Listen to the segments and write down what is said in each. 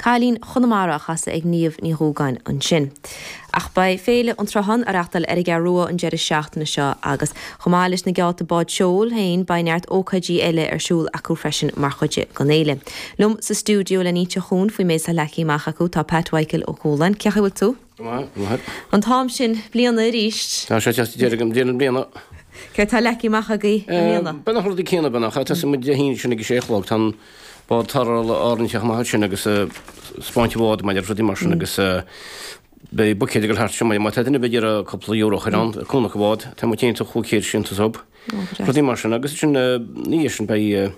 Cailín Chonamara á chasadh ag Niamh Ní Dhúgáin ansin. Ach beidh Féile an tSrutháin á reachtáil ar an gCeathrú Rua an deireadh seachtaine seo agus chomh maith leis na geábhta bád seoil féin beidh neart ócáidí eile ar siúl acu freisin mar chuid den fhéile. Liom sa stiúideo le n-inse dhúinn faoin méid atá leagtha amach acu tá Pat Mhichael Ó Cualáin. Cén chaoi a bhfuil tú? Go maith, go maith. An t-am sin bliana arís. Tá sé ag teacht deireadh na bliana. Céard tá leagtha amach agaibh i mbliana? Beagnach na rudaí céanna beagnach. Tosaíonn muid Dé hAoine sin ag a sé a chlog. Tá an bád tarrthála Árainn ag teacht amach ansin agus spáint an bhád maidir rudaí mar sin agus beidh buicéid ag dul thart sin má tá duine ar bith ag iarraidh cúpla euro a chur ann cúnamh an bhád tá muid féin 500 sin sub rudaí mar sin agus sin ina dhiaidh sin beidh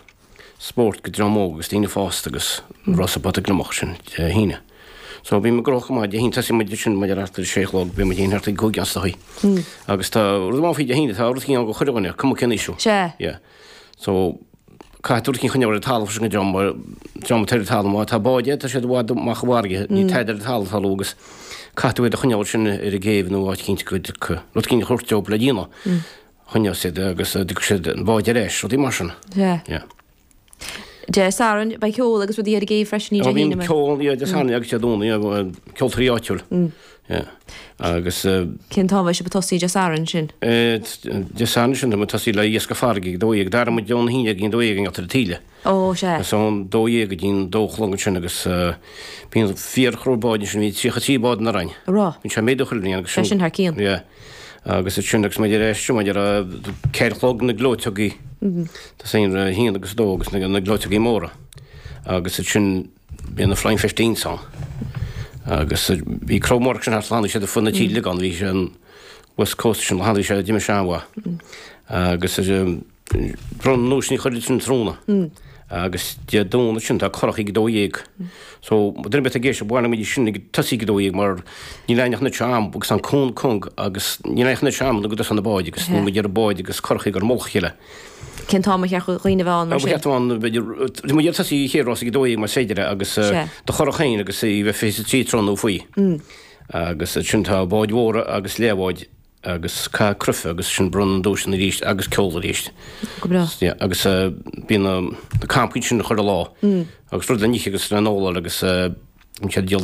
spórt go dream óg agus daoine fásta agus rása pota gliomach sin Dé hAoine. So bíonn muid gnóthach go maith Dé hAoine tosaíonn muid sin maidir thart ar a sé a chlog bíonn muid féin thart ag 5 as a agus tá rud amháin faoi Dé hAoine tá rud éicint ann go chuile dhuine cuma cén aois thú. Sea. Yeah. So, caithfidh tú rud éicint a choinneáil ar an talamh freisin go dream, mar dream atá ar an talamh, má tá báid agat, tá siad i bhfad amach i bhfarraige, níl tada ar an talamh tarlú agus caithfidh tú iad a choinneáil sin ar an gcéibh nó áit éicint go dtiocfaidh rud éicint a thabhairt dóibh le déanamh. Choinneodh siad agus dtiocfaidh siad an bád ar ais, rudaí mar sin. Sea. Yeah. Dé Sathairn, beidh ceol agus rudaí ar an gcéibh freisin, ní Dé hAoine. Bíonn ceol, yeah, Dé Sathairn agus Dé Domhnaigh, ceoltóirí áitiúil. Yeah. Agus. Cén t-am a bheidh sibh ag tosaí Dé Sathairn sin? Dé Sathairn sin, tá muid ag tosaí le iascach farraige ag 12, d'athraigh muid ón 11 go dtí an 12 i ngeall ar an taoille. Ó, sea. Is ón 12 go dtí an 2 a chlog ansin agus bíonn fíorchró báid ansin, bhí 33 bád in Árainn. Raibh. Bíonn sé ag méadú chuile bhliain agus sin. Sé sin thar cionn. Yeah. Agus ansin agus muid ar ais, muid ar 4 a chlog na gleoiteogaí. Tosaíonn ar a haon agus a dó agus na gleoiteogaí móra. Agus ansin bíonn na Flying Fifteens ann. Agus bhí cró mór sin thart tháinig siad fud na tíre uilig ann, bhí sé an West Coast sin, tháinig sé d'imigh sé an-mhaith. Agus Bronnadh na nduaiseanna chuile sin tráthnóna. Agus Dé Domhnaigh sin tá curach ag 12. So duine ar bith ag éisteacht bhain muid sin ag tosaí ag 12 mar níl aon ach am agus an cúng cúng agus níl aon ach am nó go dtosaíonn na báid agus níl muid ar an bád agus curach ag ar mullach a chéile. Cén t-am a cheart do dhaoine a bheith ann mar sin? Ba cheart ann b'fhéidir tá muid ag tosaí chéad rás ag 12 más féidir é agus do churach féin agus í bheith 23 tráthnóna nó faoi. Agus ansin tá báid mhóra agus leathbháid agus caitheamh cruife agus sin bronnadh na nduaiseanna arís agus ceol arís. Go breá. Yeah, agus bíonn na na campaí sin chuile lá agus rud le n-ithe agus le n-ól agus bíonn siad ag díol.